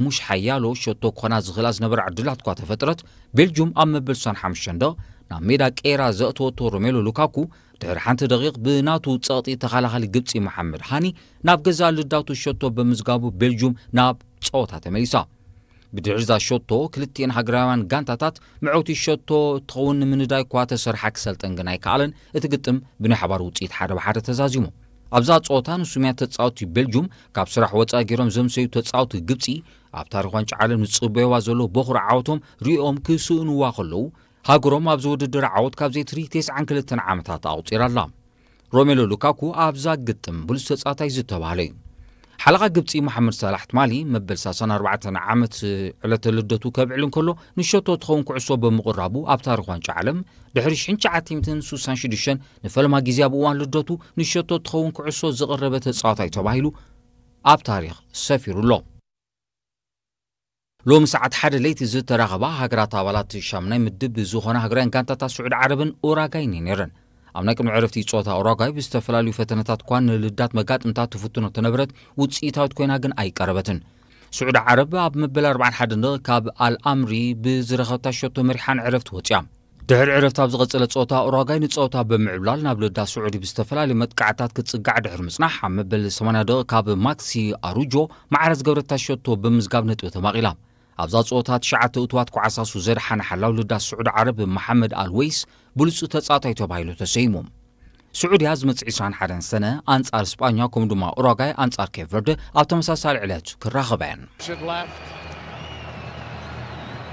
ሙሽ ሓያሎ ሸቶ ክኾና ዝኽእላ ዝነበራ ዕድላት እኳ ተፈጥረት፣ ቤልጁም ኣብ መበል ስሳን ሓሙሽተን ደቕ ናብ ሜዳ ቀይራ ዘእተወቶ ሮሜሎ ሉካኩ ድሕሪ ሓንቲ ደቂቕ ብናቱ ጸቕጢ ተኸላኻሊ ግብጺ መሓመድ ሃኒ ናብ ገዛእ ልዳቱ ሸቶ ብምዝጋቡ ቤልጁም ናብ ጸወታ ተመሊሳ። ብድሕሪ እዛ ሸቶ ክልቲኤን ሃገራውያን ጋንታታት መዐውቲ ሸቶ ትኸውን ንምንዳይ እኳ ተሰርሓ ክሰልጠን ግን ኣይከኣለን። እቲ ግጥም ብናይ ሓባር ውጽኢት ሓደ ብሓደ ተዛዚሙ። ኣብዛ ጸወታ ንሱምያ ተጻወትቲ ቤልጁም ካብ ስራሕ ወጻኢ ገይሮም ዘምሰዩ ተጻወትቲ ግብጺ ኣብ ታሪኽ ዋንጫ ዓለም ዝጽበይዋ ዘለዉ በኹሪ ዓወቶም ሪኦም ክስእንዋ ከለዉ፣ ሃገሮም ኣብዚ ውድድር ዓወት ካብ ዘይትርኢ ተስዓን ክልተን ዓመታት ኣቑጺራ ኣላ። ሮሜሎ ሉካኩ ኣብዛ ግጥም ብሉጽ ተጻዋታይ ዝተባህለ እዩ። ሓለቓ ግብጺ መሓመድ ሳላሕ ትማሊ መበል ሰላሳን ኣርባዕተን ዓመት ዕለተ ልደቱ ከብዕል እንከሎ ንሸቶ ትኸውን ኩዕሶ ብምቕራቡ ኣብ ታሪኽ ዋንጫ ዓለም ድሕሪ ሽሕን ትሽዓተ ሚእትን ስሳን ሽዱሽተን ንፈለማ ግዜ ኣብ እዋን ልደቱ ንሸቶ ትኸውን ኩዕሶ ዘቕረበ ተጻዋታይ ተባሂሉ ኣብ ታሪኽ ሰፊሩ ኣሎ። ሎሚ ሰዓት ሓደ ለይቲ ዝተራኸባ ሃገራት ኣባላት ሻምናይ ምድብ ዝኾና ሃገራውያን ጋንታታት ስዑዲ ዓረብን ኡራጋይን እየን ነይረን። ኣብ ናይ ቅድሚ ዕረፍቲ ጸወታ ኡራጋይ ብዝተፈላለዩ ፈተነታት እኳ ንልዳት መጋጥምታ ትፍትኖ ተነበረት ውጽኢታዊት ኮይና ግን ኣይቀረበትን። ስዑዲ ዓረብ ኣብ መበል ኣርባዓን ሓደን ደቕ ካብ ኣልኣምሪ ብዝረኸብታ ሸቶ መሪሓ ንዕረፍቲ ወጺኣ። ድሕሪ ዕረፍቲ ኣብ ዝቐጸለ ጸወታ ኡራጋይ ንጸወታ ብምዕብላል ናብ ልዳት ስዑዲ ብዝተፈላለዩ መጥቃዕታት ክትጽጋዕ ድሕሪ ምጽናሕ ኣብ መበል ሰማንያ ደቕ ካብ ማክሲ ኣሩጆ ማዕረ ዝገብረታ ሸቶ ብምዝጋብ ነጥቢ ተማቒላ። ኣብዛ ጸወታ ትሽዓተ እቱዋት ኳዕሳሱ ዘድሓነ ሓላው ልዳት ስዑዲ ዓረብ መሓመድ ኣልወይስ ብሉጽ ተጻዋታይ ተባሂሉ ተሰይሙ። ስዑድያ ዝመጽእ ዕስራን ሓደን ሰነ ኣንጻር ስጳኛ ከምኡ ድማ ኡራጋይ ኣንጻር ኬፕ ቨርደ ኣብ ተመሳሳሊ ዕለት ክራኸባ እየን። Should left.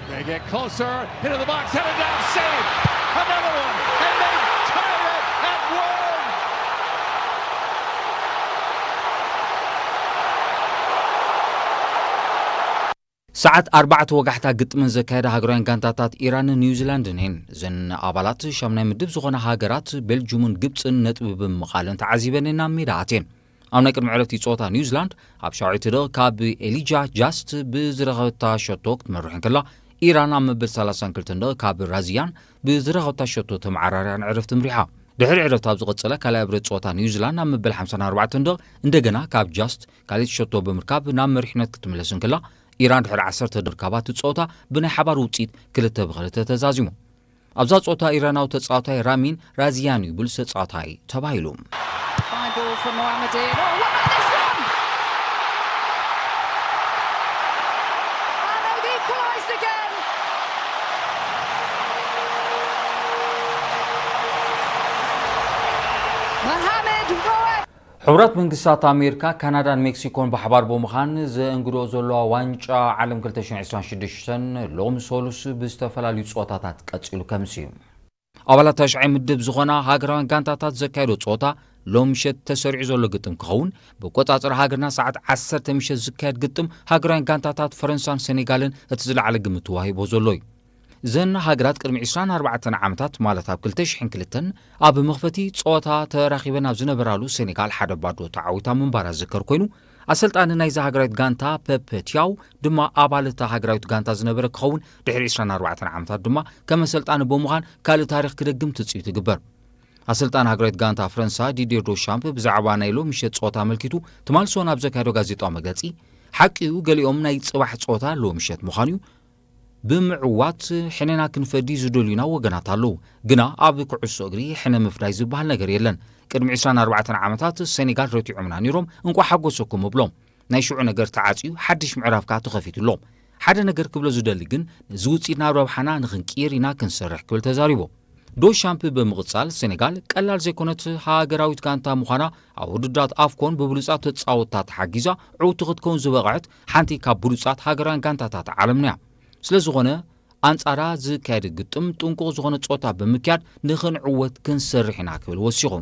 They get closer into the box, headed down, save. Another one, and they tie it at one. ሰዓት ኣርባዕተ ወጋሕታ ግጥምን ዘካየዳ ሃገራውያን ጋንታታት ኢራንን ኒውዚላንድን እየን። እዘን ኣባላት ሻምናይ ምድብ ዝኾና ሃገራት ቤልጁምን ግብፅን ነጥቢ ብምቓልን ተዓዚበን ናብ ሜዳ ኣትየን። ኣብ ናይ ቅድሚ ዕረፍቲ ፀወታ ኒውዚላንድ ኣብ ሻውዓይቲ ደቕ ካብ ኤሊጃ ጃስት ብዝረኸበታ ሸቶ ክትመርሕ እንከላ፣ ኢራን ኣብ መበል ሰላሳን ክልተን ደቕ ካብ ራዚያን ብዝረኸበታ ሸቶ ተመዓራርያ ንዕረፍቲ ምሪሓ። ድሕሪ ዕረፍቲ ኣብ ዝቐጸለ ካልኣይ ብረት ጸወታ ኒውዚላንድ ኣብ መበል ሓምሳን ኣርባዕተን ደቕ እንደገና ካብ ጃስት ካልኣይቲ ሸቶ ብምርካብ ናብ መሪሕነት ክትምለስ እንከላ፣ ኢራን ድሕሪ ዓሰርተ ደርካባት ጸወታ ብናይ ሓባር ውጽኢት ክልተ ብክልተ ተዛዚሙ። ኣብዛ ጸወታ ኢራናዊ ተጻዋታይ ራሚን ራዚያን እዩ ብሉጽ ተጻዋታይ ተባሂሉ። Fine ball from Mohammed Dean. Oh, what about this one? And they've equalised again. Mohamed Roef. ሕቡራት መንግስታት ኣሜሪካ፣ ካናዳን ሜክሲኮን ብሓባር ብምዃን ዘእንግድኦ ዘለዋ ዋንጫ ዓለም ክልተ ሽሕን ዕስራን ሽዱሽተን ሎሚ ሰሉስ ብዝተፈላለዩ ጸወታታት ቀጺሉ ከምሲ እዩ። ኣባላት ታሽዓይ ምድብ ዝኾና ሃገራውያን ጋንታታት ዘካየዶ ጸወታ ሎም ምሸት ተሰሪዑ ዘሎ ግጥም ክኸውን፣ ብቆጻጽራ ሃገርና ሰዓት ዓሰርተ ምሸት ዝካየድ ግጥም ሃገራውያን ጋንታታት ፈረንሳን ሴኔጋልን እቲ ዝለዓለ ግምት ተዋሂቦ ዘሎ እዩ። እዘን ሃገራት ቅድሚ ዕስራን ኣርባዕተን ዓመታት፣ ማለት ኣብ ክልተ ሽሕን ክልተን፣ ኣብ መኽፈቲ ጸወታ ተራኺበን ኣብ ዝነበራሉ ሴኔጋል ሓደ ባዶ ተዓዊታ ምንባራ ዝዝከር ኮይኑ፣ ኣሰልጣኒ ናይዛ ሃገራዊት ጋንታ ፐፐ ቲያው ድማ ኣባል እታ ሃገራዊት ጋንታ ዝነበረ ክኸውን፣ ድሕሪ ዕስራን ኣርባዕተን ዓመታት ድማ ከም ኣሰልጣኒ ብምዃን ካልእ ታሪኽ ክደግም ትጽቢት ይግበር። ኣሰልጣኒ ሃገራዊት ጋንታ ፈረንሳ ዲዲር ዶሻምፕ ብዛዕባ ናይ ሎሚ ምሸት ጸወታ ኣመልኪቱ ትማሊ ሰኑይ ኣብ ዘካየዶ ጋዜጣዊ መግለጺ፣ ሓቂ እዩ፣ ገሊኦም ናይ ጽባሕ ጸወታ ሎሚ ምሸት ምዃኑ እዩ፣ ብምዕዋት ሕነና ክንፈዲ ዝደልዩና ወገናት ኣለዉ። ግና ኣብ ኩዕሶ እግሪ ሕነ ምፍዳይ ዝበሃል ነገር የለን። ቅድሚ ዕስራን ኣርባዕተን ዓመታት ሴኔጋል ረቲዖምና ነይሮም፣ እንቋዕ ሓጎሰኩም እብሎም። ናይ ሽዑ ነገር ተዓጽዩ፣ ሓድሽ ምዕራፍ ከኣ ተኸፊቱ ኣሎ። ሓደ ነገር ክብሎ ዝደሊ ግን፣ ነዚ ውጽኢት ናብ ረብሓና ንኽንቅይር ኢና ክንሰርሕ ክብል ተዛሪቡ። ዶሻምፕ ብምቕጻል፣ ሴኔጋል ቀላል ዘይኮነት ሃገራዊት ጋንታ ምዃና ኣብ ውድድራት ኣፍኮን ብብሉጻት ተጻወትታ ተሓጊዛ ዕውቲ ክትከውን ዝበቕዐት ሓንቲ ካብ ብሉጻት ሃገራውያን ጋንታታት ዓለምና እያ። ስለ ዝኾነ፣ ኣንጻራ ዝካየድ ግጥም ጥንቁቕ ዝኾነ ጸወታ ብምክያድ ንኽንዕወት ክንሰርሕ ኢና ክብል ወሲኹ።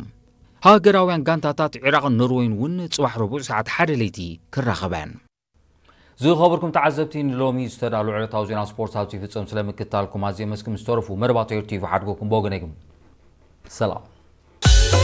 ሃገራውያን ጋንታታት ዒራቕን ኖርወይን እውን ጽባሕ ረቡዕ ሰዓት ሓደ ለይቲ ክራኸባ እየን። ዝኸበርኩም ተዓዘብቲ፣ ንሎሚ ዝተዳሉ ዕለታዊ ዜና ስፖርት ኣብዚ ይፍጸም። ስለ ምክትታልኩም ኣዝየ መስክም ዝተረፉ መደባት ኤር ቲቪ ሓድጎኩም ብወገነይ ግን ሰላም።